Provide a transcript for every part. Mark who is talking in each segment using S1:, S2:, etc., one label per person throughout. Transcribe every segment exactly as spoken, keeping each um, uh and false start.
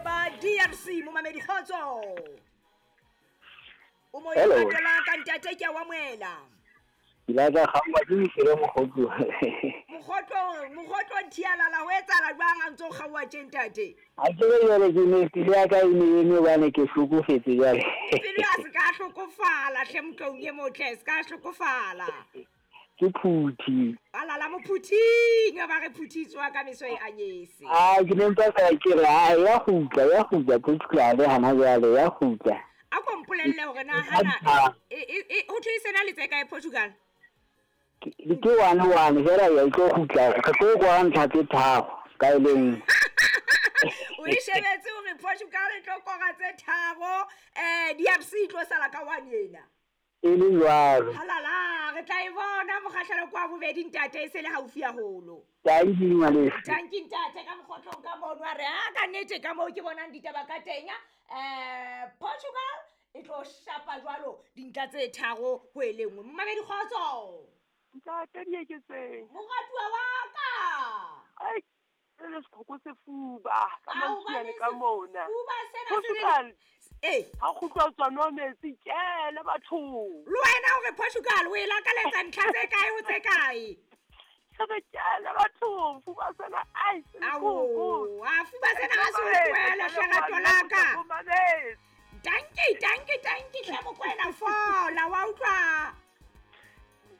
S1: ba D R C momamedi kgotso. O mo
S2: Hello.
S1: latela ka ntate ke a o amohela.
S2: Ke la tla kgaowa ke mofelo mokgotlo.
S1: Mokgotlo, mokgotlo nthialala ho etsahala jwang ha ntso o kgaowa tje ntate?
S2: Ha ke re jwale ke ne pelo ya ka e ne eme hobane ke hlokofetse jwale.
S1: Pelo ya se ka hlokofala hle motlong e motle, se ka hlokofala.
S2: Ke phuthi.
S1: Alala mophuthing, ba re phuthitswa ka meso e anyese.
S2: Ah, ke ne ntse fela ke re, ah, ya kgutla, ya kgutla, Portugal hana jwale, ya kgutla.
S1: A ko mpolelle hore na hana,
S2: Ah.
S1: e, e, e, ho thwe e sena le tse kae Portugal?
S2: Ke, ke one one fela ya e tlo kgutla, re tlo kwara ntlha tse tharo ka e le nngwe.
S1: O e shebetse hore Portugal e tlo kora tse tharo, eh, D R C e tlo sala ka one ena.
S2: E le jwalo.
S1: Halala, re tla e bona mokgahlelo kwa bobedi ntate e se le haufi haholo.
S2: Thank you, ngwaneso.
S1: Thank you, ntate, ka mokgotlong ka mono a re, ha ka nnete ka moo ke bonang ditaba ka teng, eh, Portugal e tlo shapa jwalo dintlha tse tharo ho e le nngwe. Mmamedi kgotso.
S3: Ntate Dieketseng.
S1: Moratuwa wa ka.
S3: Ai, e le seqhoko sefuba, ka
S1: Ao,
S3: mantsiane
S1: bane
S3: ka mona.
S1: Sefuba sena se le
S3: Portugal.
S1: Eh.
S3: Ha kgutlwa ho tswa nwa metsi, kele bathong.
S1: Le wena o re Portugal o e lakaletsa ntlha tse kae ho tse kae?
S3: Se re kele bathong, fuba sena, ai, se le
S1: Ao,
S3: koko.
S1: a fuba sena ha se o
S3: Ke
S1: tlohele,
S3: tla
S1: hle rato
S3: ba
S1: la ka.
S3: le mametse.
S1: Dankie, dankie, dankie, hle Mokoena, fola, wa utlwa?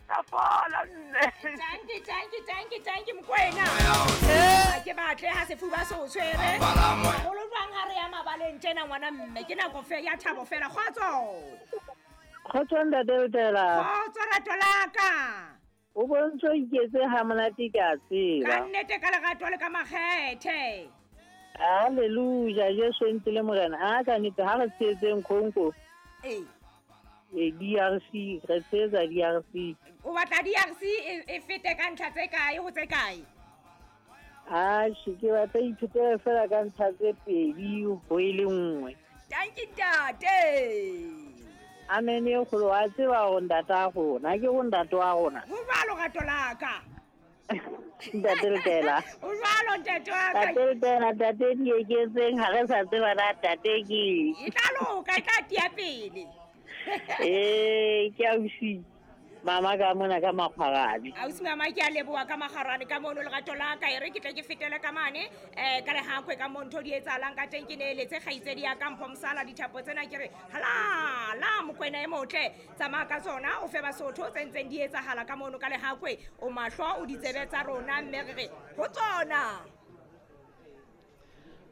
S3: Tla fola, nne.
S1: Dankie, dankie, dankie, dankie, Mokoena. Ha ke batle ha sefuba se o tshwere. Haholo jwang ha re ya mabaleng tjena ngwana mme, ke nako fe ya thabo fela. Kgotso.
S4: Kgotso ntate Letela.
S1: Kgotso rato la ka.
S4: O bontse o iketse ha monate ke a tseba.
S1: Ka nnete ka lerato le ka makgethe.
S4: Hallelujah, Jesu e ntse le Morena. A ka nnete ha re tshehetseng Congo.
S1: Ee.
S4: E D R C, re tshehetsa D R C.
S1: O batla D R C e, e fete ka ntlha tse kae ho tse kae?
S4: Atjhe, ke batla ithutela fela ka ntlha tse pedi ho e le nngwe.
S1: Thank you, ntate.
S4: Amen e kgolo, wa tseba hore ntate wa rona, ke ho ntate wa rona.
S1: Ho jwalo rato la ka.
S4: Ntate Letela.
S1: Ho jwalo ntate wa ka.
S4: Ntate Letela, ntate Dieketseng, ha re sa tseba na ntate ke eng.
S1: E tla loka, e tla tiya pele.
S4: Eh, ke ausi mama ka mona ka Makgwarane.
S1: Ausi mama, ke a leboha ka Makgwarane ka mono lerato la ka. E re ke tle ke fetele ka mane, eh, ka lehakwe ka mo ntho di etsahalang ka teng. Ke neeletse kgaitsedi ya ka Mpho Mosala dithapo tsena, ke re halala Mokoena e motle, tsamaya ka tsona o fe Basotho tse ntseng di etsahala ka mono ka lehakwe. O mahlo o ditsebe tsa rona, mme re re ho tsona.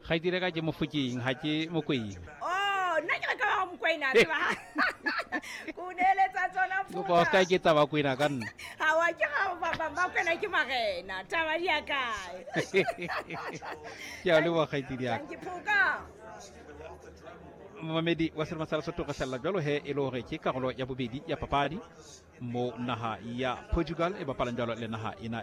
S5: Kgaitsedi ka ke Mofokeng, ha ke Mokoena.
S1: Oh, nna ke re ka ba Mokoena, tseba. Ko neeletsa tsona
S5: Kopa o ska ke tsa Bakwena ka nna.
S1: Ha wa ke ga ba ba Bakwena ke marena, taba di ya kae?
S5: Ke a leboha kgaitsedi ya ka.
S1: Thank you, Phuka.
S5: Momamedi wa Selemo sa Lesotho, re salla jwalo he e le hore ke karolo ya bobedi ya papadi mo naha ya Portugal e bapalang jwalo le naha ena